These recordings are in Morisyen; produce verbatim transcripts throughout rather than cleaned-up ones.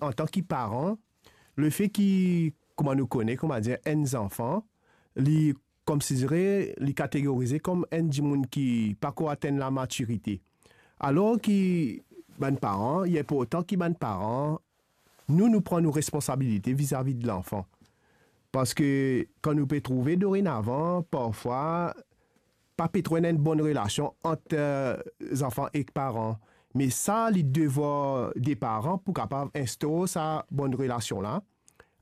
Antan ki paran, lefe ki, kouma nou kone, kouma dir, enn zanfan, li konsidere, li kategorize kom enn dimoun ki pako atenn lamatirite. Alor ki bann paran, li inportan ki bann paran, nou, nou pran nou responsabilite vizavi de lanfan. Parski kan nou pe trouve dorenavan, parfwa, pa pe tro ena enn bonn relasion ant, eh, zanfan ek paran. Me sa, li devwar de paran pou kapav instor sa bonn relasion la,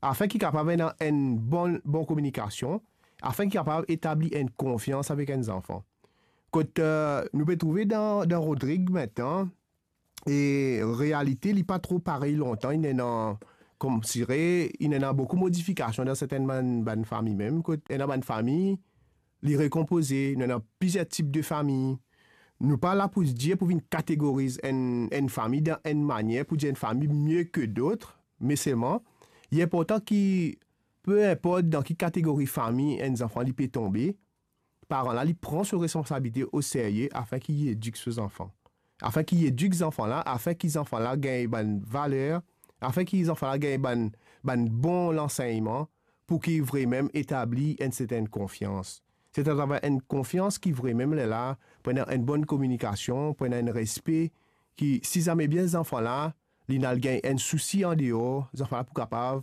afin ki kapav ena enn bon, bon kominikasion, afin ki kapav etabli enn konfians avek enn zanfan. Kot, eh, nou pe trouve dan, dan Rodrig mintnan, e realite, li pa tro parey lontan, inn ena, konsidere, inn ena boukou modifikasion dan sertenn bann, bann fami mem, kot ena bann fami, li rekonpoze, nou ena plizier tip de fami. Nou pa la pou dir, pou vinn kategoriz enn, enn fami dan enn manier, pou dir enn fami mie ke dot, me selman, li inportan ki, pe inport dan ki kategori fami enn zanfan li pe tonbe, paran la, li pran so responsabilite o serye afin ki li edik so zanfan. Afin ki li edik zanfan la, afin ki zanfan la gagn bann valer, afin ki zanfan la gagn bann, bann bon lansegnman, pou ki vremem etabli enn sertenn konfians. Se atraver enn konfians ki vremem lerla, pou ena enn bonn kominikasion, pou ena enn respe, ki si zame bien zanfan la, li al gagn enn sousi andeor, zanfan la pou kapav,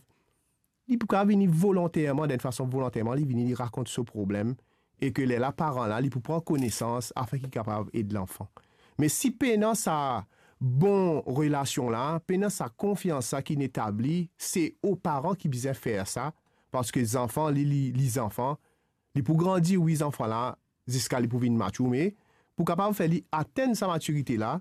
li pou kapav vini volonterman, dan enn fason volonterman, li vini, li rakont so problem, e ke lerla paran la, li pou pran konesans afin ki kapav ed lanfan. Me si pena sa bon relasion la, pena sa konfians la ki inn etabli, se ou paran ki bizin fer sa, parski zanfan, li, li, li zanfan, li pou grandi, wi, zanfan la, ziska li pou vinn matir, me pou kapav fer li atenn sa matirite la,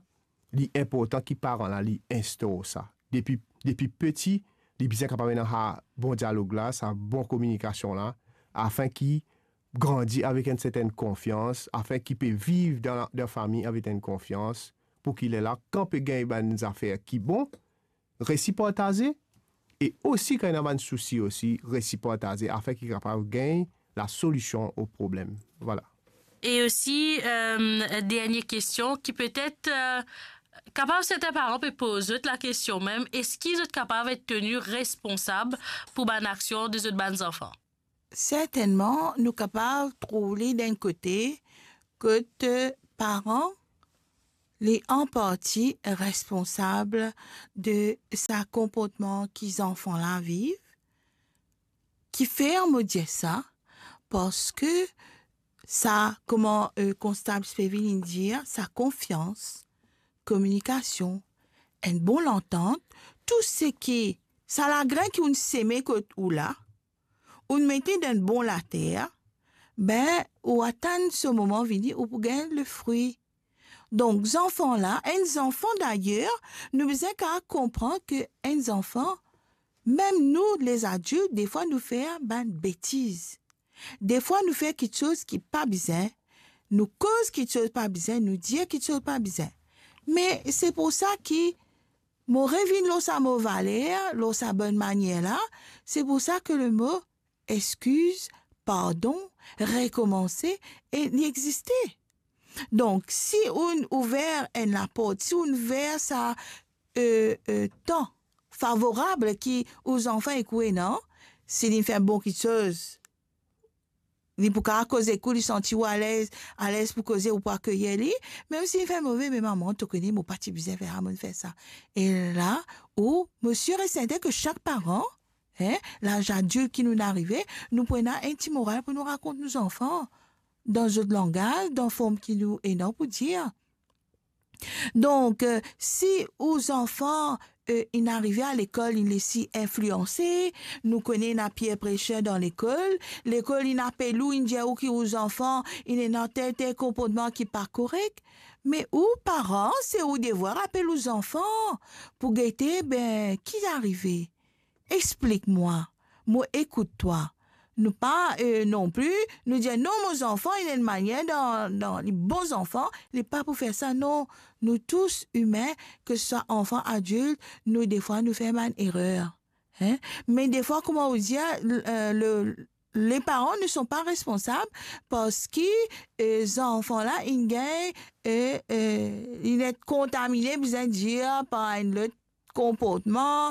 li inportan ki paran la, li instor sa. Depi, depi piti, li bizin kapav ena sa bon dialog la, sa bon kominikasion la, afin ki grandi avek enn sertenn konfians, afin ki pe viv dan, dan fami avek enn konfians, pou ki lerla, kan pe gagn bann zafer ki bon, resi partaze, e osi kan ena bann sousi osi, resi partaze, afin ki kapav gagn lasolision o problem. Vwala. E osi, euh, dernie kestion ki petet, euh, kapav sertin paran pe poz zot lakestion mem, eski zot kapav et teni responsab pou bann aksion de zot bann zanfan? Sertennman, nou kapav trouv li dan enn kote kot, eh, paran, li an parti responsab de sa konportman ki zanfan la viv. Kifer mo dir sa? Parski sa, kouma, eh, konstab Spevin inn dir, sa konfians, kominikasion, enn bon lantant, tou seki, sa lagrin ki ou'nn seme kot ou la, ou'nn mete dan bon later, be, ou atann so moman vini, ou pou gagn lefri. Donk, zanfan la, enn zanfan dayer, nou bizin kapav konpran ki enn zanfan, mem nou, lezadilt, defwa nou fer bann betiz. Defwa nou fer kiksoz ki pa bizin, nou koz kiksoz pa bizin, nou dir kiksoz pa bizin. Me se pou sa ki mo revinn lor sa mo valer, lor sa bonn manier la, se pou sa ki lemo exkiz, pardon, rekomanse, e li existe. Donk, si ou'nn ouver enn laport, si ou'nn ouver sa, eh, eh, tan favorab ki ou zanfan ek ou ena, si li fer bon kiksoz, li pou kapav koz ek ou, li santi ou alez, alez pou koze, ou pou akeyir li. Mem si li fer move, me mama, to kone, mo pa ti bizin fer sa, mo'nn fer sa. E la, ou, mo sir e sertin ki sak paran, hein, laz adilt ki nou'nn arive, nou pou ena enn ti moral pou nou rakont nou zanfan, dan zot langaz, dan form ki nou ena pou dir. Donk, eh, si ou zanfan, eh, inn arive a lekol, inn les li inflianse, nou kone ena peer pressure dan lekol, lekol inn apel ou, inn dir ou ki ou zanfan inn ena tel, tel konportman ki pa korek, me ou, paran, se ou devwar apel ou zanfan pou gete, be, ki arive? Explik mwa, mo ekout twa. Nou pa, eh, non pli, nou dir, "Non, mo zanfan, li ena enn manier dan, dan, li bon zanfan," li pa pou fer sa, non. Nou tous imin, ki swa anfan, adilt, nou defwa nou fer bann erer. Hein? Me defwa, kouma ou dir, l-, eh, le, les parents ne sont pas responsables parski, eh, zanfan la, inn gagn, eh, eh, inn et kontamine, bizin dir, par enn lot konportman,